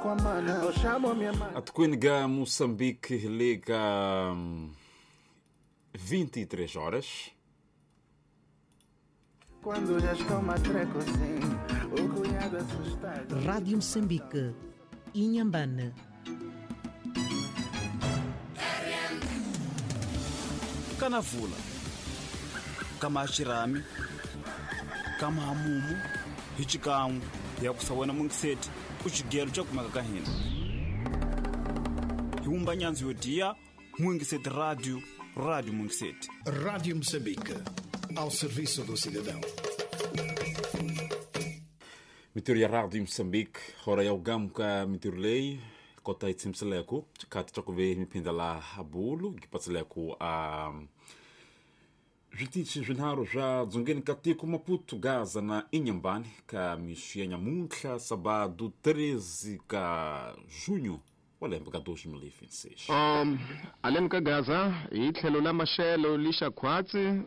A Moçambique liga 23 horas. Quando já estou matreco, sim, o cunhado assustado. Rádio Moçambique, Inhambane. Kanavula, kama xirhami, kama hamumu, hi xikan'we hi ya ku sawena mungiseti ku xigelo xa kumeka ka hina. Hi wumba nyandzu yo diya Mungiseti Radio, Radio Mungiseti. Rádio Moçambique, ao serviço do cidadão. Mitiro ya Radio Moçambique, hora ya ugamuka mitiro lei, kota itsimseleku, chikati chakuve mipinda la abulu, gipatseleku a zvitichi zvinharo zva dzongeni katiko Maputo, Gaza na Inhambane, ka mixu ya nyamuntlha, sábado 13 ka junho, wa lembe ka 2026. Aleni ka Gaza hi tlhelo la maxelo lixa khwatsi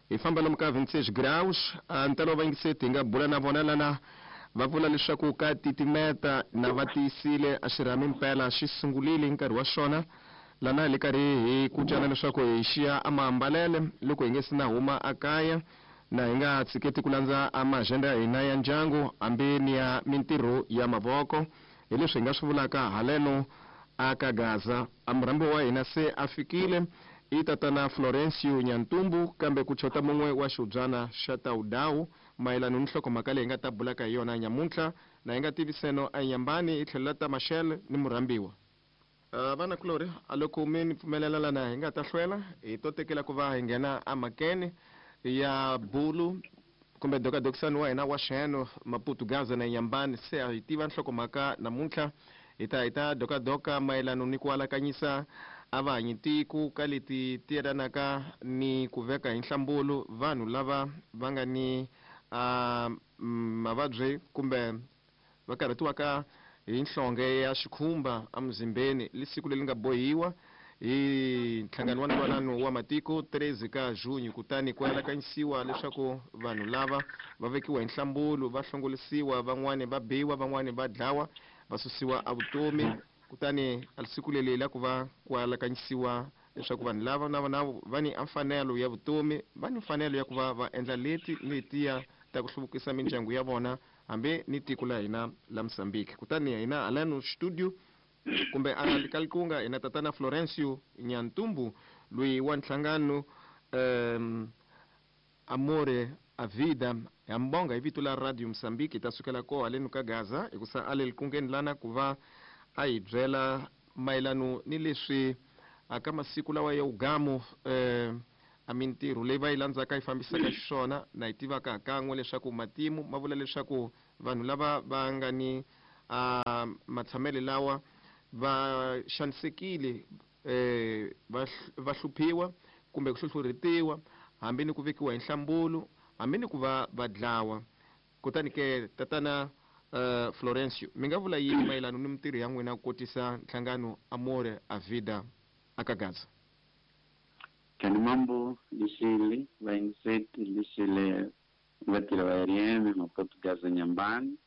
hi famba lomu ka 26 graus. Ntalo va yingiseti hi nga bula na vona lana va vula leswaku ka titimeta na va tiyisile a xirhami mpela xi sungulile hi nkarhi wa xona lana hi le karhi hi kucana leswaku hi xiya a maambalele loko hi nge se na huma a kaya na hi nga tshiketi ku landza a maagenda ya hina ya ndyangu hambi ni ya mintirho ya mavoko. Hi leswi hi nga swi vulaka haleno aka Gaza. A murhambi wa hina se a fikile i tatana Florencio Nyantumbu, kambe ku chota mun'we wa xihubyana xa Tawudawu mayelana ni nhlokomhaka leyi hi nga ta bulaka hi yona nyamuntlha na hi nga tiviseno a Inhambane hi tlhelo la ta Machel ni murhambiwa. Vana kulori a loko mi ni pfumelela lana hi nga ta hlwela hi to tekela ku va hi nghena emakeni ya bulu kumbe dokadokisani wa hina wa xeno Maputo, Gaza na Inhambane. Se a hi tiva nhlokomhaka namuntlha hi ta dokadoka mayelana ni ku alakanyisa a va hanyi tiko ka leti ti yelanaka ni ku veka hi nhlambulu vanhu lava va nga ni mavabyi kumbe va karhatiwaka hi nhlonge ya xikhumba emuzimbeni. Li siku leri nga bohiwa hi nhlangano wa ntwanano wa matiko 13 ka junho, kutani ku alakanyisiwa leswaku vanhu lava va vekiwa hi nhlambulu, va hlongolisiwa, van'wani va biwa, van'wani va dlawa, va susiwa evutomi. Kutani a siku leri la ku va ku alakanyisiwa leswaku vanhu lava na vona va ni mfanelo ya vutomi, va ni mfanelo ya ku va va endla leti ni letiya ta ku hluvukisa mindyangu ya vona hambi ni tiko la hina la Mozambique. Kutani hina halano studio kumbe a Kalikunga hina tatana Florencio Nyantumbu loyi wa nhlangano Amore a Vida ya mbonga hi vito la Radio Mozambique ta sukela ko haleno ka Gaza hikusa a le likungeni lana ku va a hi byela mayelano ni leswi aka masiku lawa ya ugamu a mintirho leyi va yi landzaka yi fambisaka xiswona na yi tivaka kan'we leswaku matimu ma vula leswaku vanhu lava va nga ni matshamele lawa va xanisekile, va hluphiwa kumbe ku hluhlurhetiwa hambi ni ku vekiwa hi nhlambulu hambi ni ku va va dlawa. Kutani ke tatana Florencio, mi nga vula yini mayelana ni mintirho ya n'wina ku kotisa nhlangano Amore a Vida aka Gaza? Kani mambo lixile vayingiseti lixile vatirhi va RM Maputo, Gaza, Inhambane.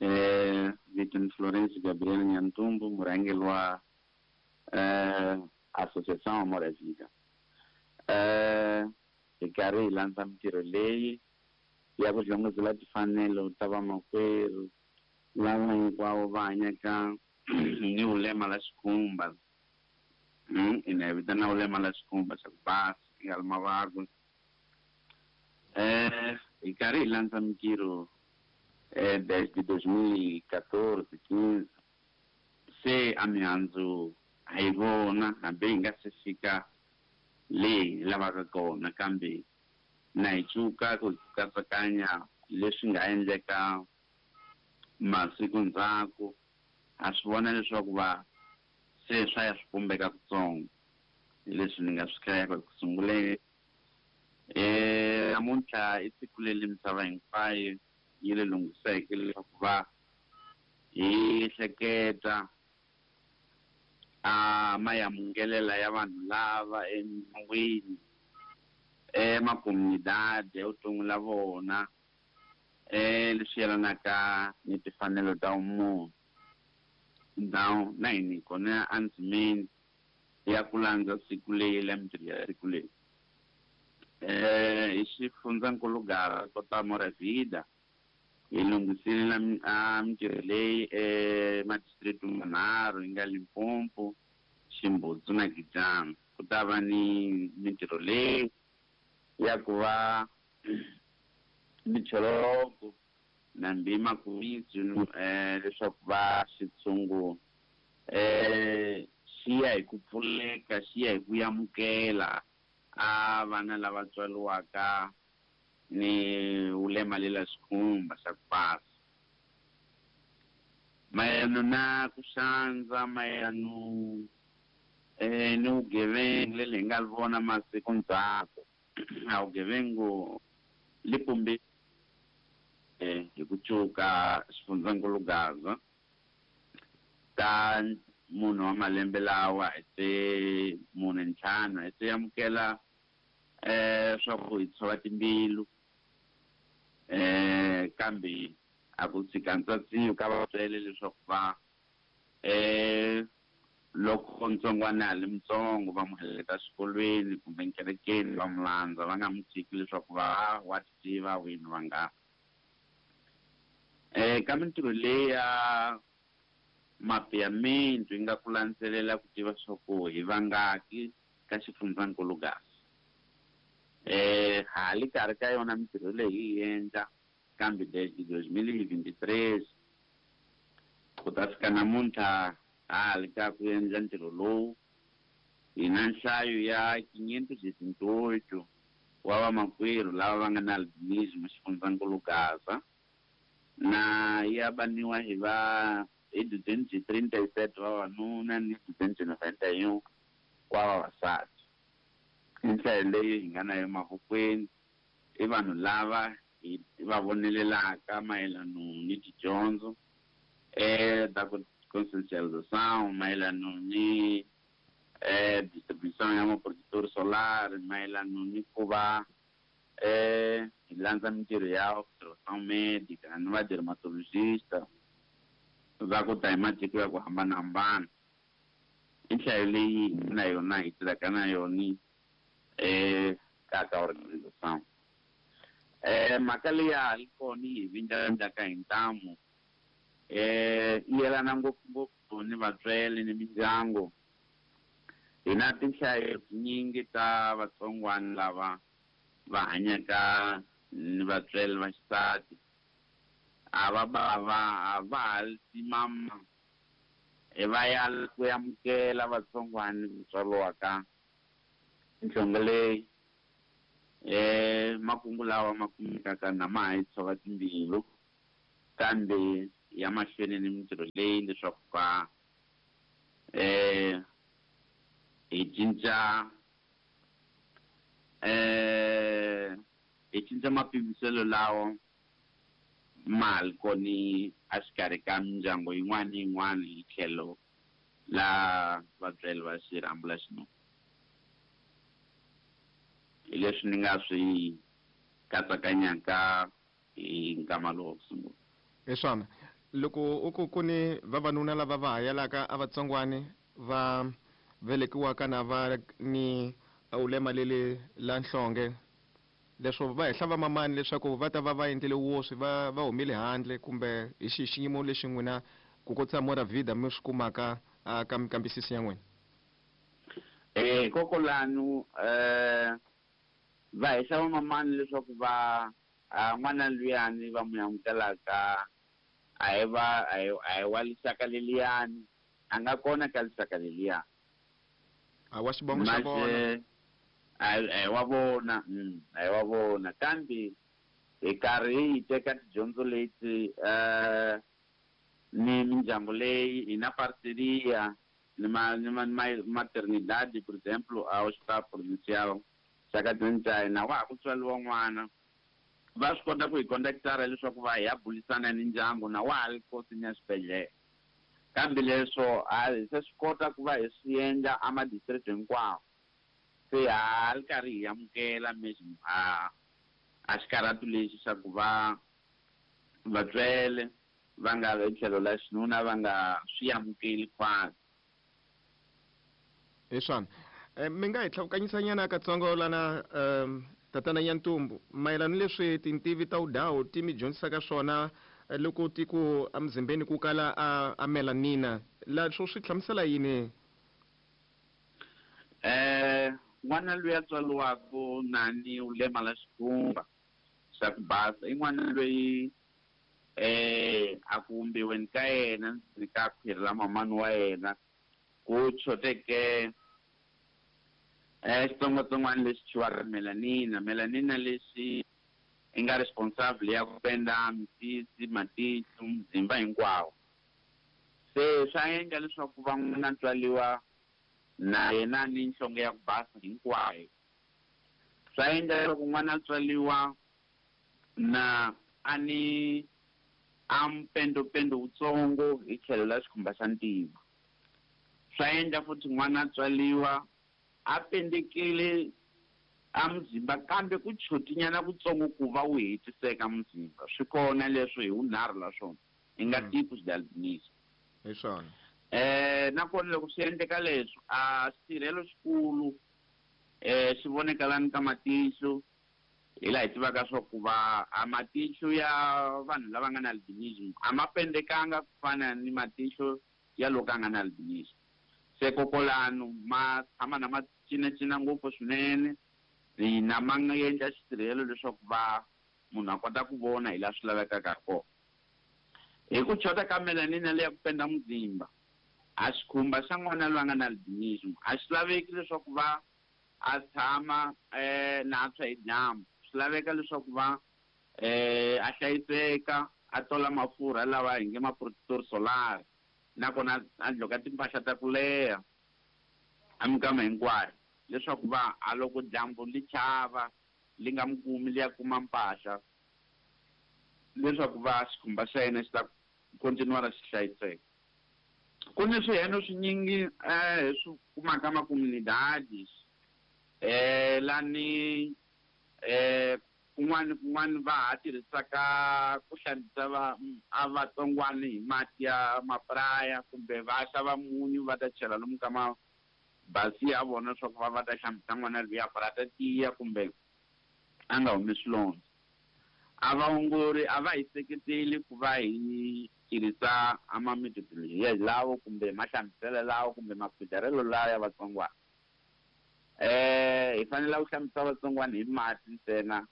Vito ni Florencio Gabriel Nyantumbu, murhangeri wa Associação Amor à Vida. Hi karhi hi landza mintirho leyi ya ku hlongozela timfanelo ta vamakwerhu lava hinkwavo va hanyaka ni vulema la xikhumba. Ina hi vitana vulema la xikhumba xa ku basa yi nga ri mavabyi. Hi karhi hi landza mintirho desde 2014 15 se a mihandzu a hi vona hambi hi nga se fika leyi hi lavaka kona, kambe na hi cuka ku katsakanya leswi nga endleka masiku ndzhaku. Ha swi vona leswaku va se swa ya swi pumbeka kutsongo, hi leswi ni nga swi hlayaka ku sunguleni. Namuntlha i siku leri misava hinkwayo yi le lunghiseke leswaku va hi hleketa a mayamungelela ya vanhu lava emindyangwini, emakomunidade evuton'wini la vona, leswi yelanaka ni timfanelo ta vumunhu. Tindhawu na hina hi kona endzimeni ya ku landza siku leyi la mintirho ya siku leyi. Hi xifundzankulu Gaza kota Moravida hi lunghisile a mintirho leyi emadistrict manharhu yi nga Limpopo, Ximbudzu na Gijana. Ku ta va ni mintirho leyi ya ku va micholoko na mbima kumitsu leswaku va xitshungu xi ya hi ku pfuleka, xi ya hi ku amukela a vana lava tswariwaka ni vulema lela xikhumba xa ku basa. Mayelana na ku xandza, mayelana ni vugevenga leli hi nga vona masiku ndzhaku, a vugevengu li pumbi hi ku cuka xifundzankulu Gaza ta munhu wa malembe lawa hi se 45 hi se amukela swa ku hi tshova timbilu kambe a ku tshika ntswatsiwi ka vatswele leswaku va loko ntsongwana a li mutsongo va n'wi heleketa xikolweni kumbe nkerekeni va n'wi landza, va nga n'wi tshiki leswaku va wa tiva wini va nga. Ka mintirho leyi ya mapeamento yi nga ku landzelela ku tiva swa ku hi vangaki ka xifundzankulu Gaza. Ha li karhi ka yona mintirho leyi hi endla kambe desde 2023 ku ta fika namuntlha ha li ka ku endla ntirho lowu hi na nhlayo ya 518 wa vamakwerhu lava va nga na albinism xifundzankulu Gaza na ya baniwa hi va hi 237 vavanuna ni 291 wa vavasati. I nhlayo leyi hi nga na yo mavokweni i vanhu lava hi va vonelelaka mayelana ni tidyondzo ta ku conscientização, mayelana ni distribution ya maprojector solar, mayelana ni ku va hi landza mintirho ya observação médica ni va dermatologista va ku ta hi matiko ya ku hambanahambana. I nhlayo leyi hi na yona hi tirhaka na yona ka organization. Mhaka leyi ya ha ri kona yi hi vindlavindlaka hi ntamu yi yelana ngopfungopfu ni vatswele ni mindyangu. Hi na tinhlayo tinyingi ta vatsongwana lava va hanyaka ni vatswele va xisati, a va bava a va ha timama va ya ku amukela vatsongwana ku tswariwaka nhlonge leyi. Makungu lawa ma kumekaka na ma ha yi tshova timbilu kambe ya mahlweni ni mintirho leyi leswaku va hi cinca hi cinca mapimiselo lawa ma li koni a xikarhi ka mindyangu yin'wana ni yin'wana hi tlhelo la vatswari va xirhambo la xinuna. Hi leswi ni nga swi katsakanyaka hi nkama lowu wa ku sungula. Hi swona loko u ku ku ni vavanuna lava va hayelaka a vatsongwani va velekiwaka na va ni ulema leli la nhlonge, leswo va hehla va mamani leswaku va ta va va endlele woswi va va humile handle kumbe hi xihi xiyimo lexi n'wina ku kotisa Moravida mi swi kumaka ka minkambisiso ya n'wina? Kokolanu va hehla va mamani leswaku va n'wana luyani va n'wi amukelaka a hi va a hi wa lixaka leliyani, a nga kona ka lixaka leliyani. A wa xivongo xa vona. A hi wa vona, a hi wa vona kambe hi karhi hi teka tidyondzo leti ni mindyangu leyi hi na parceria ni ma ni ma maternidade, por exemplo, a hospital provincial xa ka Twenty na wa ha ku tswariwa n'wana va swi kota ku hi contactara leswaku va hi ya bulisana ni ndyangu na wa ha ri kosini ya xibedhlele. Kambe leswo a hi se swi kota ku va hi swi endla a ma-district hinkwawo, se ha ri karhi hi amukela mesmo a xikarhatu lexi xa ku va vatswele va nga hi tlhelo la xinuna va nga swi amukeli khwatsi. Hi swona. Mi nga hi tlhavukanyisanyana katsongo lana, tatana Nyantumbu, mayelana ni leswi tintivi ta wudawu ti mi dyondzisaka swona loko ti ku emuzimbeni ku kala a melanina, la swo swi hlamusela yini? N'wana loyi a tswariwaka nani u lemala xikhumba xa ku basa i n'wana loyi a ku vumbiweni ka yena ndzeni ka khwiri ra mamani wa yena ku choteke xitsongwatsongwana lexi thyiwaka melanina. Melanina lexi i nga responsible ya ku penda misisi, matihlo, muzimba hinkwawo. Se swa endla leswaku va n'wana tswariwa na yena ni nhlonge ya ku basa hinkwayo. Swa endla leswaku n'wana tswariwa na a ni a mpendopendo wutsongo hi tlhelo la xikhumba xa ntima. Swa endla futhi n'wana tswariwa a pendekile a muzimba kambe ku chotinyana kutsongo ku va wu hetiseka muzimba. Swi kona leswo hi wunharhu la swona i nga tipos de albinism. Hi swona. Nakona loko swi endleka leswo a xitirhelo xikulu xi vonekalani ka matihlo, hi laha hi tivaka swa ku va a matihlo ya vanhu lava nga na albinism a ma pendekanga ku fana ni matihlo ya loko a nga na albinism. Se kokolano ma tshama na ma cinacina ngopfu swinene, na ma nga endla xitirhelo leswaku va munhu a kota ku vona hi laha swi lavekaka ha kona. Hi ku chota ka melanina leya ku penda muzimba, a xikhumba xa n'wana loyi a nga na albinism a xi laveki leswaku va a tshama na a tshwa hi dyambu. Swi laveka leswaku va a hlayiseka, a tola mafurha lawa hi nge ma protector solar, nakona a dloka timpahla ta ku leha a minkama hinkwayo leswaku va a loko dyambu li chava li nga mi kumi li ya kuma mpahla leswaku va xikhumba xa yena xi ta continuara xi hlayiseka. Ku ni swiheno swinyingi hi swi kumaka makomunidades lani kun'wana kun'wana va ha tirhisaka ku hlambisa va a vatsongwana hi mati ya mapraya kumbe va xava munyu va ta chela lomu ka mabasi ya vona leswaku va va ta hlambisa n'wana luya ku ri a ta tiya kumbe a nga humi swilondza. A vaongori a va hi seketeli ku va hi tirhisa a ma methodology lawo kumbe mahlambiselo lawo kumbe makhwidarelo lawa ya vatsongwana. Hi fanele ku hlambisa vatsongwana hi mati ntsena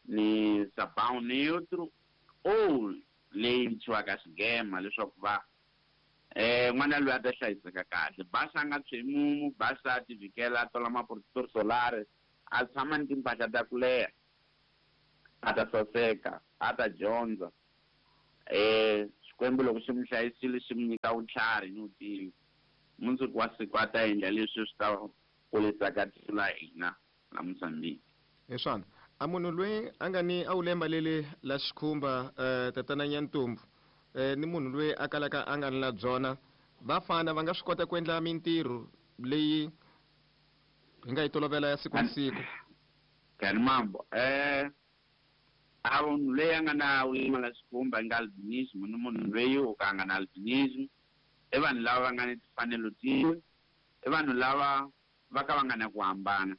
ni sabão neutro ou leyi thyiwaka xigema leswaku va n'wana loyi a ta hlayiseka kahle. Basa a nga tshwi mumu, basa a ti vhikela, a tola ma-protector solar, a tshama ni timpahla ta ku leha, a ta saseka, a ta dyondza. Xikwembu loko xi mi hlayisile xi mi nyika vutlhari ni vutivi, mundzuku wa siku a ta endla leswi swi ta kurisaka tiko la hina la Mozambique. Hi swona. A munhu loyi a nga ni a wu lemba leli la xikhumba tatana Nyantumbu ni munhu loyi a kalaka a nga ni la byona, va fana va nga swi kota ku endla mintirho leyi hi nga yi tolovela ya siku na siku? Kani mambo, a munhu loyi a nga na wulima la xikhumba nga albinism ni munhu loyi o ka a nga na albinism i vanhu lava va nga ni timfanelo tin'we, i vanhu lava va ka va nga na ku hambana.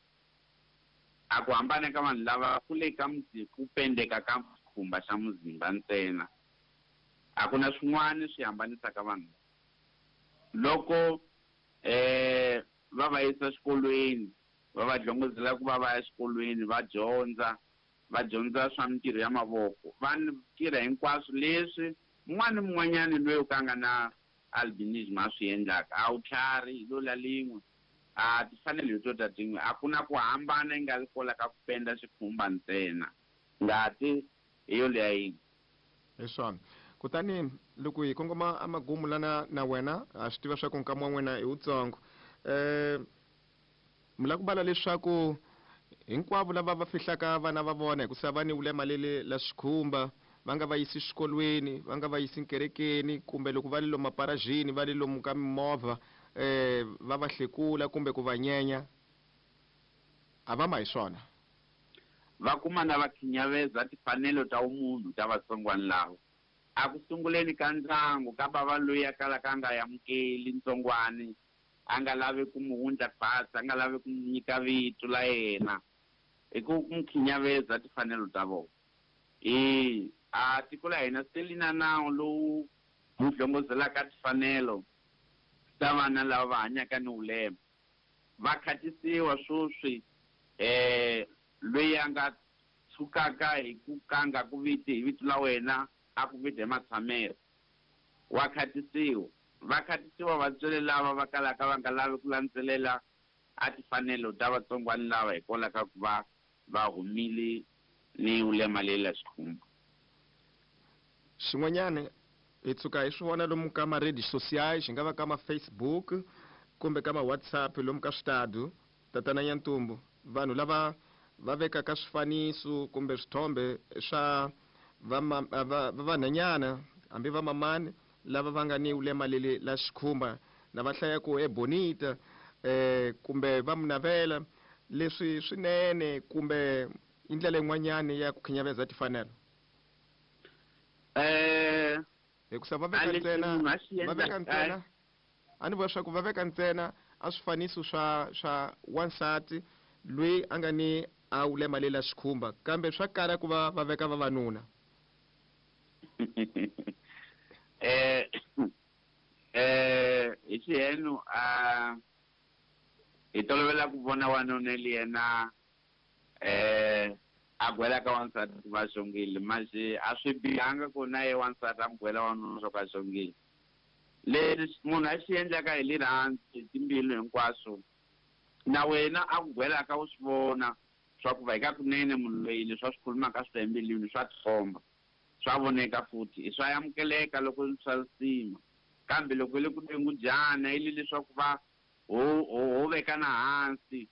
A ku hambana ka vanhu lava ku le ka ku pendeka ka xikhumba xa muzimba ntsena. A ku na swin'wana swi hambanisaka vanhu. Loko va va yisa xikolweni, va va dlongozela ku va va ya xikolweni, va dyondza, va dyondza swa mintirho ya mavoko, va tirha hinkwaswo leswi un'wana ni mun'wanyani loyi o ka a nga na albinism a swi endlaka. A wu tlhari hi lo la lin'we, a ti fanele hi to ta tin'we. A ku na ku hambana yi nga ri kola ka ku penda xikhumba ntsena, ngati hi yo leya yin'we. Hi swona. Kutani loko hi kongoma emagumu lana na wena, ha swi tiva swa ku nkama wa n'wina i wutsongo. Mi lava ku vala leswaku hinkwavo lava va fihlaka vana va vona hikusa va ni wulema leli la xikhumba, va nga va yisi xikolweni, va nga va yisi kerekeni, kumbe loko va le lomu maparajini, va le lomu ka mimovha, va va hlekula kumbe ku va nyenya, a va ma hi swona. Va kuma na va khinyaveza timfanelo ta vumunhu ta vatsongwana lava. A ku sunguleni ka ndyangu ka bava loyi a kalaka a nga amukeli ntsongwani, a nga lavi ku n'wi wundla khwatsi, a nga lavi ku n'wi nyika vito la yena, hi ku n'wi khinyaveza timfanelo ta vona. E a tiko la hina se li na nawu lowu wu hlongozelaka timfanelo ta vana lava va hanyaka ni vulema. Va khatisiwa swoswi loyi a nga tshukaka hi ku ka nga ku viti hi vito la wena, a ku viti hi matshamelo, wa khatisiwa. Va khatisiwa vatswari lava va kalaka va nga lavi ku landzelela a timfanelo ta vatsongwana lava hikwalaho ka ku va va humile ni vulema leri la xikhumba. Xin'wanyana hi tshuka hi swi vona lomu ka ma-redes sociais, xi nga va ka ma-Facebook kumbe ka ma-WhatsApp, lomu ka switadu, tatana Nyantumbu, vanhu lava va vekaka swifaniso kumbe swithombe swa va vanhwanyana hambi va mamani lava va nga ni vulema leli la xikhumba, na va hlaya ku e bonita, kumbe va munavela leswi swinene, kumbe i ndlela yin'wanyani ya ku khinyaveza timfanelo? Hikusa va veka ntsena, va veka ntsena, a ni vula swa ku va veka ntsena a swifaniso swa wansati loyi a nga ni a vulema leri la xikhumba, kambe swa kala ku va va veka vavanuna. Hi xihenu a hi tolovela ku vona wanuna li yena a gwela ka wansati ku va xongile, manje a swi bihanga ku na ye wansati a n'wi gwela wanuna swa ku a xongile. Leswi munhu a xi endlaka hi rirhandzu hi timbilu hinkwaswo, na wena a ku gwelaka u swi vona swa ku va hi ka kunene munhu loyi leswi a swi khulumaka swi ta embilwini, swa tikomba, swa voneka futhi, i swa amukeleka loko swa risima. Kambe loko le ku dengudyana i le leswaku va ho vekana hansi,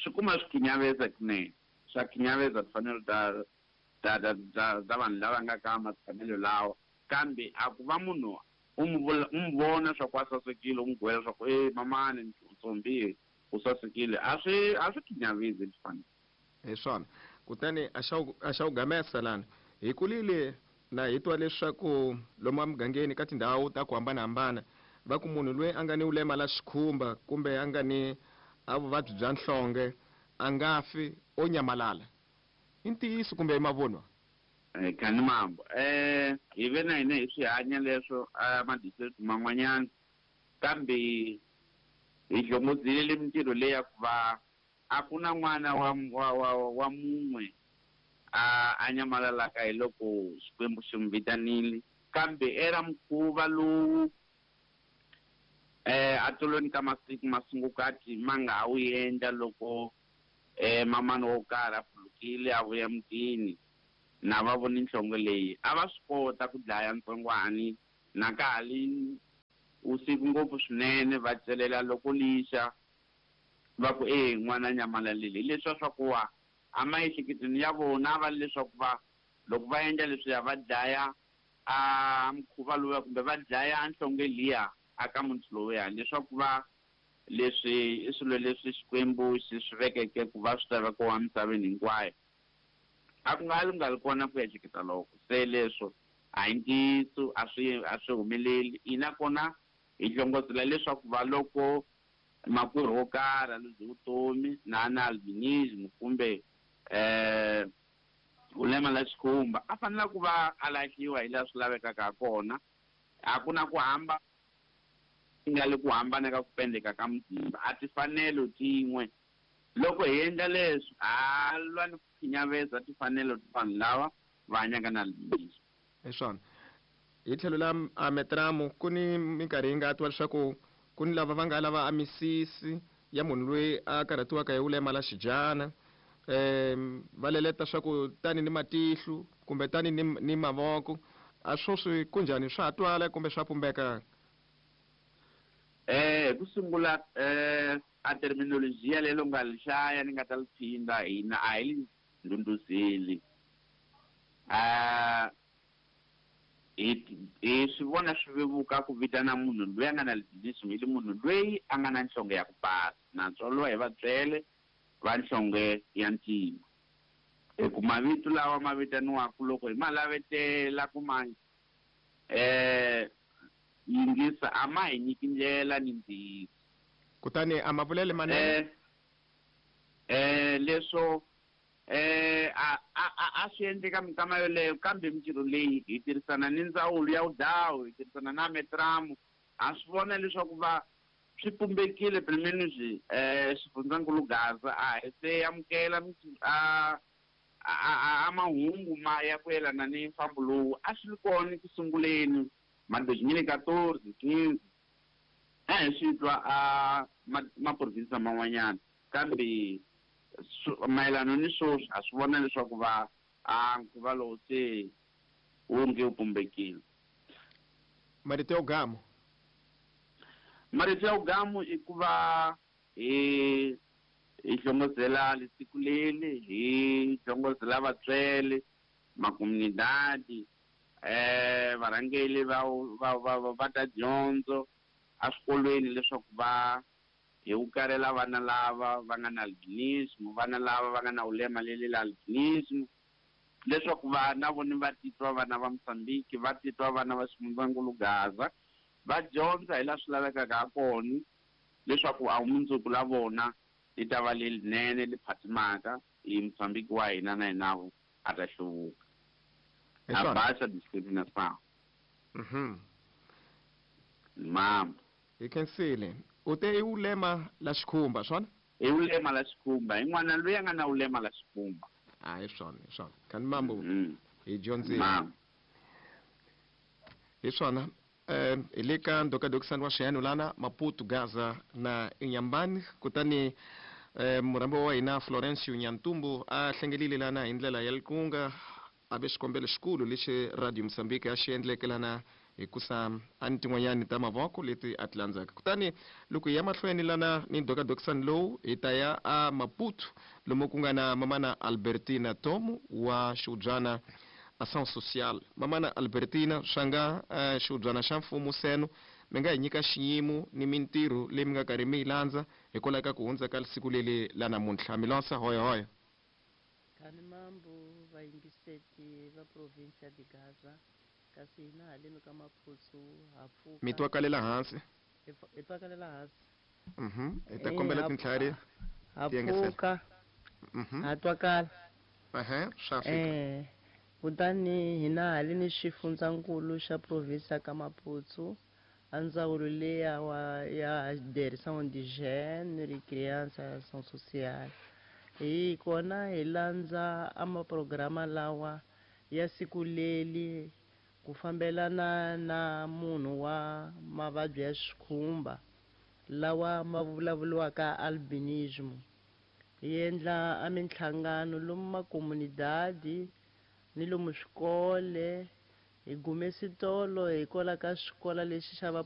swi kuma swi khinyaveza kunene, swa khinyaveza timfanelo ta vanhu lava nga ka matshamelo lawa. Kambe a ku va munhu u n'wi vona swa ku a sasekile, u n'wi gwela swa ku e mamani ntsombi u sasekile, a swi khinyavezi timfanelo. Hi swona. Kutani a xa u gamesa lana hi kulile na hi twa leswaku lomu emugangeni ka tindhawu ta ku hambanahambana va ku munhu loyi a nga ni vulema la xikhumba kumbe a nga ni a vuvabyi bya nhlonge a nga fi, o nyamalala. I ntiyiso kumbe i mavunwa? Khani mambo, hi ve na hina hi swi hanya leswo a madistrict man'wanyana, kambe hi hlongozile mintirho leyi ya ku va a ku na n'wana wa mun'we a nyamalalaka hi loko Xikwembu xi n'wi vitanile. Kambe era mukhuva lowu a tolweni ka masiku masungukati ma nga ha wu endla loko mamani wo karhi a pfulukile a vuya mutini na va voni nhlonge leyi, a va swi kota ku dlaya ntsongwani na ka ha li usiku ngopfu swinene, va celela loko lixa va ku e n'wana nyamalalile. Hi leswiya swa ku wa a maehleketweni ya vona va leswaku va loko va endla leswiya va dlaya a mukhuva lowuya kumbe va dlaya nhlonge liya a ka munhu lowuya, leswaku va leswi i swilo leswi Xikwembu xi swi vekeke ku va swi ta vekiwa emisaveni hinkwayo. A ku nga li nga li kona ku ehleketa loko se leswo a hi ntiyiso, a swi humeleli. Ina kona hi hlongozela leswaku va loko makwerhu wo karhi a luze vutomi na na albinism kumbe vulema la xikhumba, a fanele ku va a lahliwa hi laha swi lavekaka ha kona. A ku na ku hamba nga le ku hambana ka ku pendeka ka muzimba, a timfanelo tin'we. Loko hi endla leswi ha lwa ni ku khinyaveza timfanelo ta vanhu lava va hanyaka na albinism. Hi swona. Hi tlhelo la a metramu ku ni minkarhi yi nga twa leswaku ku ni lava va nga lava a misisi ya munhu loyi a karhatiwaka hi vulema la xidyana, va leleta swa ku tani ni matihlo kumbe tani ni mavoko. A swo swi kunjhani, swa ha twala kumbe swa pumbeka? Ku sungula a terminology leyi nga li hlaya ni nga ta li phinda, hina a hi li ndhundhuzeli. Hi swi vona swi vevuka ku vitana munhu loyi a nga na albinism hi li munhu loyi a nga na nhlonge ya ku basa, na tswariwa hi vatswele va nhlonge ya ntima. Hi ku mavito lawa ma vitaniwaka loko hi ma lavetela ku ma Yingisa a ma hi nyiki ndlela ni ntiyiso. Kutani a ma vulele manene? Leswo a swi endleka minkama yoleyo, kambe mintirho leyi hi tirhisana ni ndzawulo ya vudawu, hi tirhisana na Metramu, ha swi vona leswaku va swi pumbekile pelo menos xifundzankulu Gaza a hi se amukela a mahungu ma ya ku yelana ni mfambo lowu a swi ri kona ku sunguleni ma 2014 15 a hi swi twa a maprovinsi man'wanyana, kambe mayelana ni sweswi a swi vona leswaku va a nkhuva lowu se wu nge wu pumbekile. Marito ya ugamu. Marito ya ugamu i ku va hi hlongozela lesiku leli, hi hlongozela vatswele, makomunidadi, varhangeli va ta dyondzo eswikolweni leswaku va hi ukarela vana lava va nga na albinism, vana lava va nga na ulema leli la albinism, leswaku vana voni va titwa vana va Mozambique, va titwa vana va xifundzankulu Gaza, va dyondza hi laha swi lavekaka ha kona leswaku a mundzuku la vona li ta va lelinene li phatimaka hi Mozambique wa hina na hinavo a ta hluvuka. A baixa discriminação. Mama. Hi khensile. U te i ulema la xikhumba, swona? I ulema la xikhumba. I n'wana loyi a nga na ulema la xikhumba. A hi swona, hi swona. Kani mambo hi dyondzile. Hi swona. Hi le ka ndokadokisani wa xiyani lana Maputo, Gaza na Inhambane, kutani murhambi wa hina Florencio Nyantumbu a hlengelile lana hi ndlela ya likunga a ve xikombelo xikulu lexi Radio Mozambique a xi endleke lana hikusa a ni tin'wanyani ta mavoko leti a ti landzaka. Kutani loko hi ya mahlweni lana ni ndokadokisani lowu hi ta ya a Maputo lomu ku nga na mamana Albertina Tomu wa xiubyana Ação Social. Mamana Albertina, swa nga xiubyana xa mfumo seno mi nga hi nyika xiyimo ni mintirho leyi mi nga karhi mi yi landza hikwalaho ka ku hundza ka siku leli la namuntlha. Mi lonsa hoya hoya. Kani mambo vayingiseti va provinsia de Gaza, kasi hina haleni ka Maputo ha pfuka. Mi twakalela hansi? Hi twakalela hansi. Hi ta kombela tintlhari ha pfuka. Ha twakala. Swa fika. Kutani hina haleni xifundzankulu xa provinsia ka Maputo, a ndzawulo leya ya Direção de Gênero e Criança e Ação Social. Hi kona hi landza a maprograma lawa ya siku leli ku fambelana na munhu wa mavabyi ya xikhumba lawa ma vulavuriwaka albinism. Hi endla a minhlangano lomu makomunidadi ni lomu swikole, hi gume switolo hikwalaho ka xikola lexi xa va